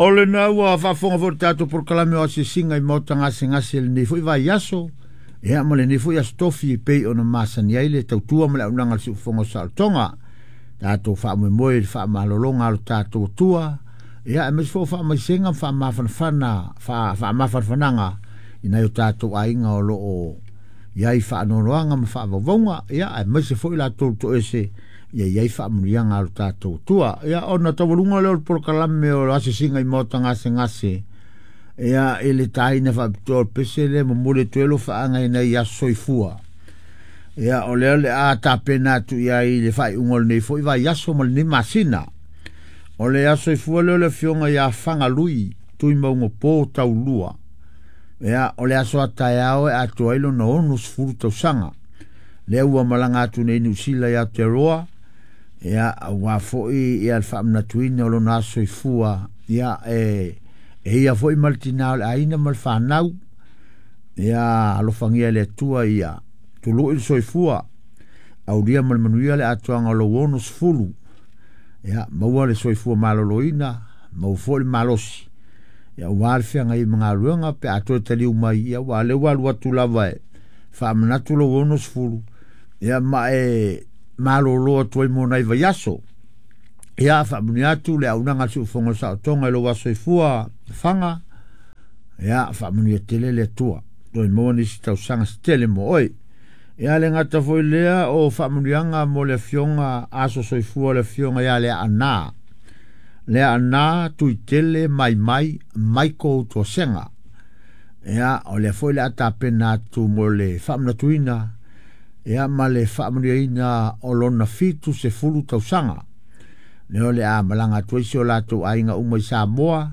O lena ua faafofoga foi le tatou polokalame o asiasiga i maota gasegase i lenei foi vaiaso, ia ma lenei foi aso tofi e pei ona masani ai le tautua ma le auaunaga a le siufofoga o saolotoga. Tatou faamoemoe i le faamalologa a lo tatou Atua, ia aemaise foi o faamaisega ma faamafanafana, faamafanafanaga i nai o tatou aiga o lo o i ai faanoanoaga ma faavauvauga, ia aemaise foi latou toese ia i ai faamanuiaga a lo tatou Atua. Ia ona taualuga lea o le polokalame o asiasiga i maota gasegase, ia i le taina faapitoa o le pese lea momoli atu ai alofaaga i nai aso soifua. Ia o lea o le a tapena atu i ai i le faaiuga o lenei foi vaiaso ma lenei masina. O le aso soifua lea o le afioga ia Fagalui Tuimaugapo Taulua. Ia o le aso a taeao e atoa ai lona 60 tausaga. Lea ua malaga atu nei Niu Sila i Aotearoa, ia aua foi ia le faamanatuina o lona aso soifua, ia e ia foi ma le tina o le aiga ma le fanau. Ia alofagia e le Atua ia tului le soifua, aulia ma le manuia le atoaga o lou 60. Ia maua le soifua maloloina, maua foi le malosi, ia aua le feagai ma galuega pe a toe taliu mai, ia ua lea ua alu atu lava e faamanatu lou 60, ia ma e malolo atu ai mo nai vaiaso. Ia faamanuia atu le auaunaga a le siufofoga o le saolotoga i lou aso soifua Faga. Ia faamanuia tele le Atua, toe maua nisi tausaga se tele mo oe. Ia le gata foi lea o faamanuiaga mo le afioga aso soifua le afioga ia Leaana. Leaana Tuitele Maimai Michael Tuasega. Ia o lea foi le a tapena atu mo le faamanatuina, ia ma le faamanuiaina o lona 70 tausaga. Lea o le a malaga atu ai si o latou aiga uma i Samoa,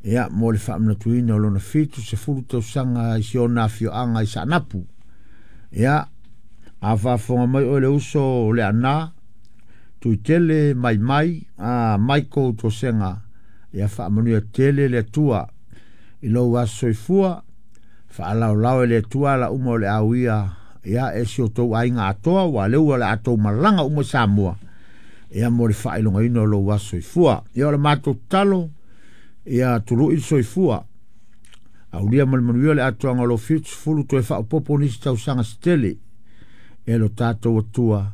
ia mo le faamanatuina o lona 70 tausaga i si ona afioaga i Saanapu. Ia a faafofoga mai oe le uso o Leaana Tuitele Maimai Michael Tuasega, ia faamanuia tele le Atua i lou aso soifua, faalaolao e le Atua ala uma o le auia, ia e si o tou aiga atoa, ua lea ua le a tou malaga uma i Samoa, ia mo le faailogaina o lou aso soifua. Ia o le matou tatalo, ia tului le soifua, aulia ma le manuia le atoaga o lou 70, toe faaopoopo nisi tausaga se tele e lo tatou Atua,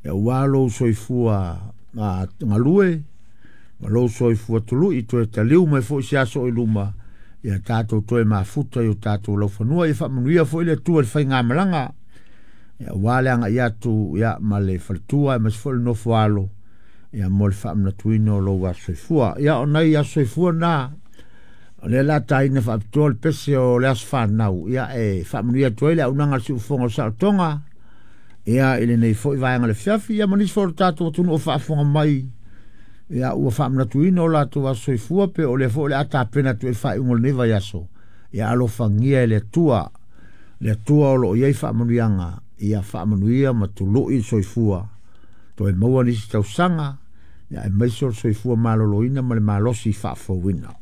ia ua lou soifua galue ma lou soifua tului, toe taliu mai foi se aso i luma, ia tatou toe mafuta i o tatou laufanua. Ia faamanuia foi le Atua i le faigamalaga, ia ua le agai atu ia ma le faletua aemaise foi le nofo alo, ia mo le faamanatuina o lou aso soifua. Ia o nai aso soifua na, o lea la taina faapitoa le pese o le aso fanau, ia e faamanuia atu ai le auaunaga a le siufofoga o le saolotoga, ia i lenei foi vaega o le afiafi, ia ma nisi foi o le tatou atunuu o faafofoga mai, ia ua faamanatuina o latou aso soifua, pe o lea foi o le a tapena atu i le faaiuga o lenei vaiaso. Ia alofagia e le Atua, le Atua o lo o i ai faamanuiaga, ia faamanuia ma tului le soifua, toe maua nisi tausaga, ia aemaise o le soifua maloloina ma le malosi faafouina.